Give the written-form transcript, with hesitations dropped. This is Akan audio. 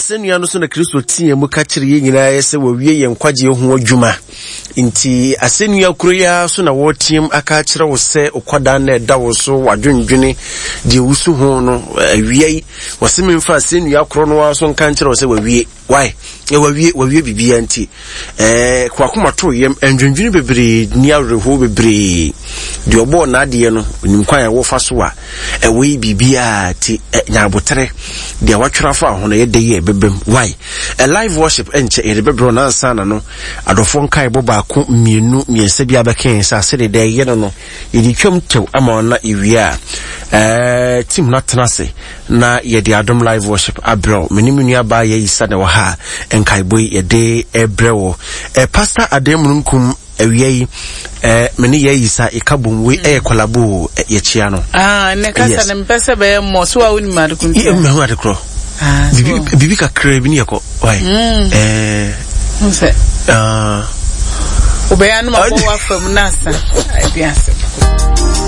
Asɛnnua no so na Kristo teɛ mu ka kyerɛ yɛn nyinaa yɛ sɛ wawie yɛn nkwagyeɛ ho adwuma. Nti asɛnnua koro yi ara so na wɔreteam aka akyerɛ wo sɛ okwadaa na ɛda wo so, wadwendwene deɛ wusu ho no, awia yi, wɔse memfa asɛnnua koro no ara so nka nkyerɛ wo sɛ wawie. Why? Eh, wawie, wawie biribiara nti. Eh, kwakoma to yam, ndwendwene bebree, ni awerɛhoɔ bebree. Deɛ ɔbɔɔ n'adeɛ no, onim kwan a wɔfa so a, ɛwɔ yi biribiara ti, eh, nya aboterɛ. Deɛ watwerɛ afa ho no, ɛyɛ dɛ yi a ɛbɛbam. Why? A live worship ɛnkyɛ, yɛde bɛbrɛ no ansa na no, adɔfoɔ nkaebɔ baako, mmienu, mmiɛnsa bi abɛka yɛn nsa, sɛdeɛ deɛ ɛyɛ no no, Yɛde twam tɛw ama wɔn na yɛwie a, ɛɛ team no atena ase na yɛde Adom Live Worship abrɛ wo. Me ne me nua baa Yayisa na ɛwɔ ha a nkaebɔ yi yɛde ɛbrɛ wɔ. Ɛɛ Pastor Adan Mununkum awia yi ɛɛ me ne Yayisa yɛka bom wei ɛyɛ kɔlabo yɛkyia no. Ah, ne kasa ne mpɛ sɛ bɛyɛ mmɔ so a wonim ade ko ntia. Mmehu ade korɔ. Ah, bibi bibi kakra bi ne yɛkɔ. Why? Mm. Eh. Sɛ. Ah. Wobɛyɛ anum abɔ w'afa mu na asa. Ɛdi asɛm.